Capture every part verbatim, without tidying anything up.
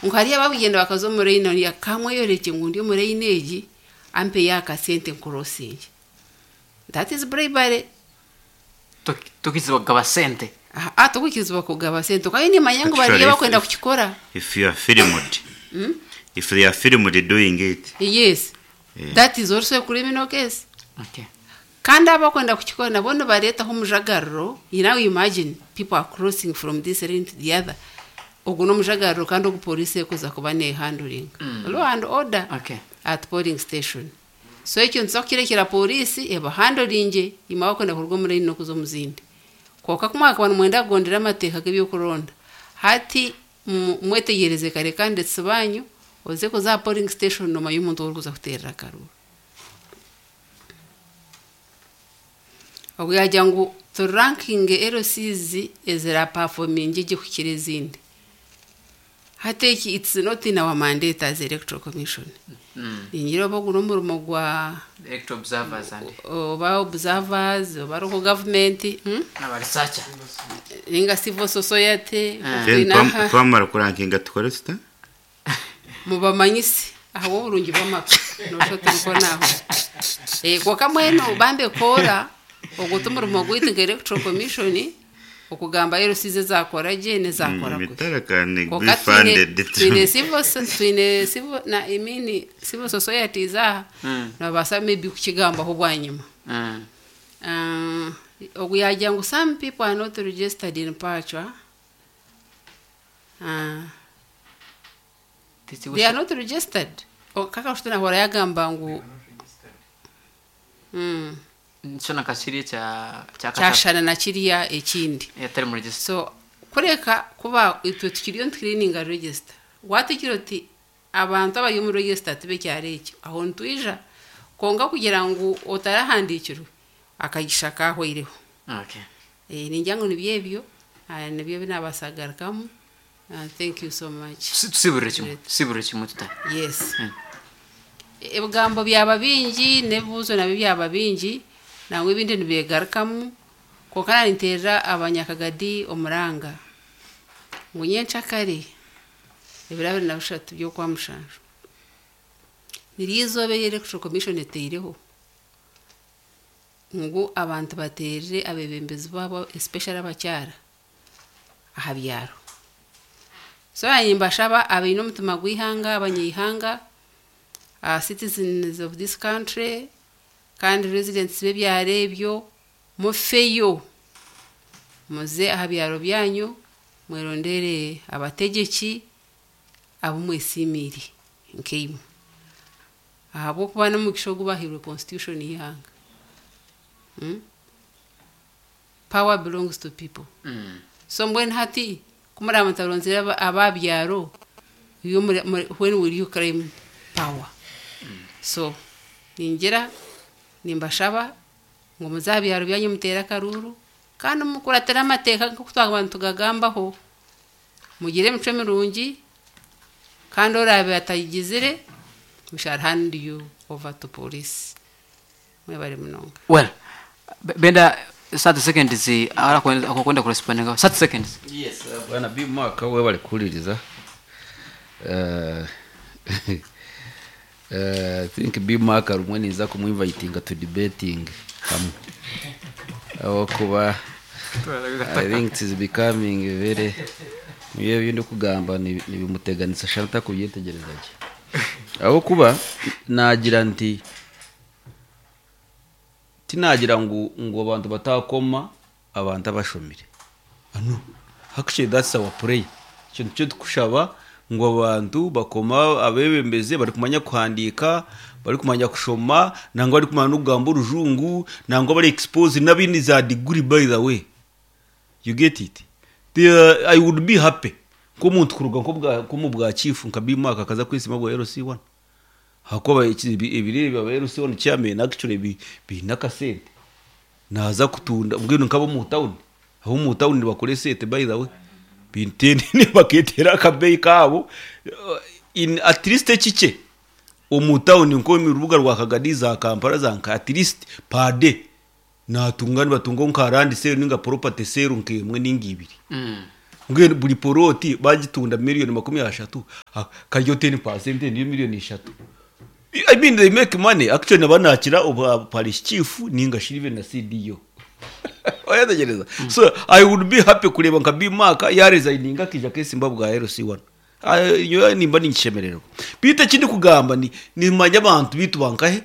Ngu hariyo abakugenda bakaza omu line oriya kamweyorekye ngu ndi omu line egi ampeyo akasente nkurosinge. That is bribery. Tokirizibwa kugaba sente. Ah, tokukirizibwa kugaba sente. Kandi nimanya ngu bariyo Actually, bakwenda if- kukikora. If you are filmed, if they are filmed doing it, Yes. Yeah. That is also a criminal case. Okay. Kandi abakwenda kukikora nabo nibareetaho omujagariro. You now imagine people are crossing from this lane to the other. Ogu n'omujagariro kandi ogu police ekuza kuba nehandling. Law and order Okay. at polling station. So ekyo nituza kukirekera police ebahandolinge imwe abakwenda kuruga omu line n'okuza omu zindi. Kwonka ku mwakaba nimwenda kugondera amateeka g'ebyokuronda. Hati mu- mwetegyereze kare candidates banyu oze kuza aha polling station nomanya omuntu orikuza kuteerera akaruru. Ogu yagira ngu turankinge L Cs eziraperforminge gye kukira ezindi. Hati eki it's not in our mandate as Electoral Commission. Mm. Ningira oba ogu n'omurimo gwa Electoral observers and oba observers oba local government, hmm? n'aba researcher. Ninga civil society. Ah. then Twine twam- aha. twamara kurankinga tukore tuta? Mubamanyise aho oburungi bw'amaka nosho turiko naho. Eh, kwonka mbwenu bambe koora ogwo t'omurimo gwaitu nka Electoral Commission okugamba L Cs ezakora gye n'ezakora kubi. Mitara can be Kwonka twine funded. twine civil so- twine civil na I mean civil societies aha Mm. nibabaasa maybe kukigambaho bwanyima. Mm. Uh, ogu yagira ngu some people are not registered in Pachwa. Uh, they are not registered. O, kaka kushutana hora yagamba ngu mm, Nshona kashiri cha cha kyashana na kiriya ekindi. Yatari mu register. So kureka kuba itwe tukiriyo ntiturininga register. Watikira oti abantu abari omu register tibe kyari ekyo. Aho ntwija konka kugira ngu otarahandikirwe akagisha kahweireho. Okay. Eh, ningira ngu nibyo ebyo, ah, nibyo binabasagarukamu. Uh, thank you so much. Tusibure kimwe. Tusibure kimwe tuta. Yes. Mm. Ebigambo byaba bingi n'ebibuuzo nabyo byaba bingi nangwa ebindi nibegarukamu konka naninteerera abanyakagadi omuranga ngu nyencakare ebiro abiri na bishatu by'okwa mushanju niryo izooba eri Electoral Commission eteireho ngu abantu bateerere abeebembezi baabo especially abakyara aha byaro. So nimbashaba abaine omutima gw'eihanga abanyaihanga, uh, citizens of this country kandi residents b'ebyaro ebyo mufeyo muze aha byaro byanyu mwerondere abategyeki abu mwesiimiire nkaimwe ahabw'okuba n'omugisha ogu bahairwe constitution y'eihanga. Hmm? Power belongs to people. Mm. So mbwenu hati kumuraba mutaronzire aba- ababyaro iyo muri- muri- when will you claim power? So ningira nimbashaba ngu muze aha byaro byanyu muteere akaruru kandi mukuratire amateeka nk'oku twaba nitugagambaho mugire emicwe mirungi kandi orabe atagizire we shall hand you over to police. Mwebare munonga. Well, Be- Benda thirty seconds ara kwenda kurespondinga thirty seconds. Yes, uh, bwana B Mark we bari kuririza. Uh, uh, I think B Mark rumwe niza kumuinvitinga to debating hamwe. Aho kuba I think it is becoming very niyo bindi kugamba nibimuteganisa shanta kubyetegereza gye. Aho kuba nagira nti tinagira ngu ngo abantu batakoma abantu abashomire. Ano actually that's our prayer. Ikintu cyo tukushaba ngo abantu bakoma abebembeze bari kumanya kuhandika bari kumanya kushoma nangwa bari kumanya n'okugamba orujungu nangwa bari expose n'abindi za degree by the way. You get it? The, uh, I would be happy nk'omuntu kuruga nko mu bwa chief nka B Mark akaza kwisima bwa L C one. Hakoba ebiri bya L C one chairman actually bi binakasente naza kutunda mbwino nkabo mu town aho mu town bakore sete by the way bintene ne baketera akabeyi kabo in at least kike omu town nko mu rubuga rwa Kagadi za Kampala za nka at least per day natunga nibatunga nka land sale ninga property sale nkemwe ningibiri. Mm. Mbwenu buri poroti bagitunda miliyoni makumi ashatu, ha- karyo ten percent niyo miliyoni eshatu. I mean, they make money. Actually, nabanakira oba parish chief ninga shirive na C D O. Oyategereza. So I would be happy kureba nka Bimaka yaresigninga akija kesimba bwa L C one. Iyo nimba ninkishemererwa. Bite kindi kugamba ni nimanya abantu bitu bankahe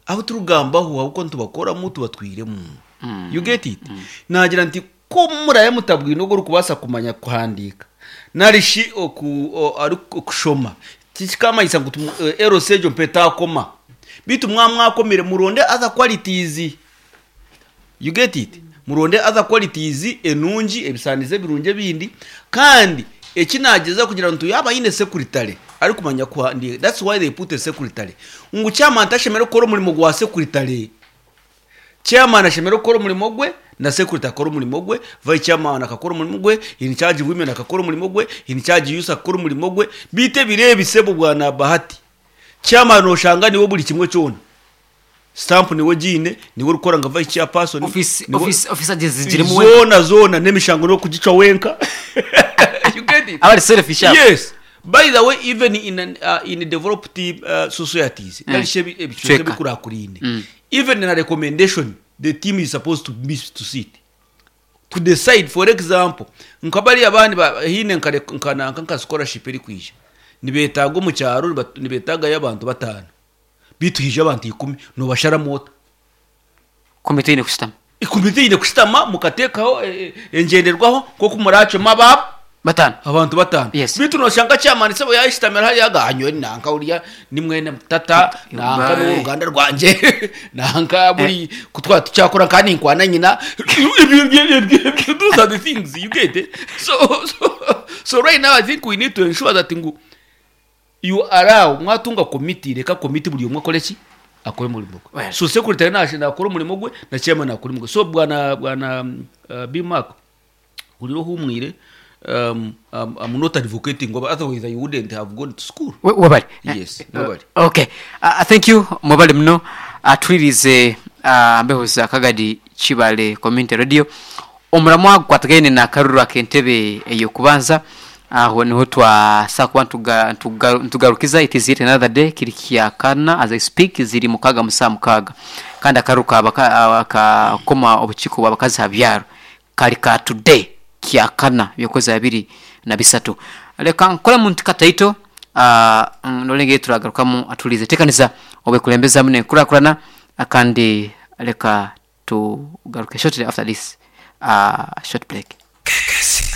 abo turugambaho ahubwo ntubakoramo tubatwiremo. You get it? Nagira nti ko muraye mutabwino go kubasa kumanya kuhandika narishi oku o- ari okushoma tikikamanyisa ngu tumu- eh, L C egyo mpetakoma bitu mwamwakomire muronde other qualities. You get it? Muronde other qualities enungi, ebisanizo ebirungi ebindi. Kandi ekinageza kugira ntu yaba yine secretary ari kumanya kuhandika, that's why they put a secretary, ngu chairman tashemere gukora omurimo gwa secretary. Chairman ashemere gukora omurimo gwe na secretary akora omurimo gwe, vice chairman akakora omurimo gwe, in charge women akakora omurimo gwe, in charge youth akakora omurimo gwe. Bite birebe sebo bwana Bahati, chairman oshanga niwe buri kimwe cyona, stamp niwe gine, niwe urukora nka vice chairperson. Office niwe- office office zigiremu we. Zona zona n'emishango no kugica wenka. You get it? Abari selfish abo. Yes, by the way, even in an, uh, in developed uh, societies, mm. nalishe ebicweka Cweka. bikurakurine, even in a recommendation, the team is supposed to be to sit to decide. For example, nkabari abandi ba- hine nkare- nkananka nka scholarship eri kwija, nibetaga omu kyaro, nibat- nibetagayo abantu batano, bituhije abantu ikumi, nobashara mota. Komite ine kusitama. Ikomite ine kushitama mukateekaho eh, eh, engenderwaho nkoku muracoma ababo Batano. Abantu batano. Yes. Bitu noshanga chairman sebo yashitamira hariya ganywe nanka uriya ni mwene tata nanka Bye. n'uruganda rwanje nanka buri kutwa tucyakora kandi nkwana nyina. Ibyo- ibyo- ibyo- ibyo- those are the things, you get it? so so so right now I think we need to ensure that ngu you allow mwatunga committee, reka committee buri umwe akore ki, akore umurimo gwe. Well. So secretary nashe nakora umurimo gwe na chairman nakora umurimo gwe. So bwana bwana um, uh, Bimark uriro humwire, um, um, I'm not advocating, but otherwise I wouldn't have gone to school. We- webale Yes, webale. Okay, uh, thank you, mwebale muno. Atulirize uh, mbeho za Kagadi Kibale Community Radio, omulamwa gukwatagaine nakaruru ak'entebe ey'okubanza. Aho niho twasa kuba ntuga- ntuga- ntugarukiza. It is yet another day. Kiri kyakana as I speak, ziri mukaga musaa mukaga, kandi akaruru kaba kakoma obukiiko bw'abakazi ha byaro kali ka today kyakana byokwezi abiri na bisatu. Leka nkole muntu kataito uh, nolengeri turagarukamu atulize tekaniza obwekulembeza nenkurakurana, kandi leka tugaruke shortly after this uh, short break.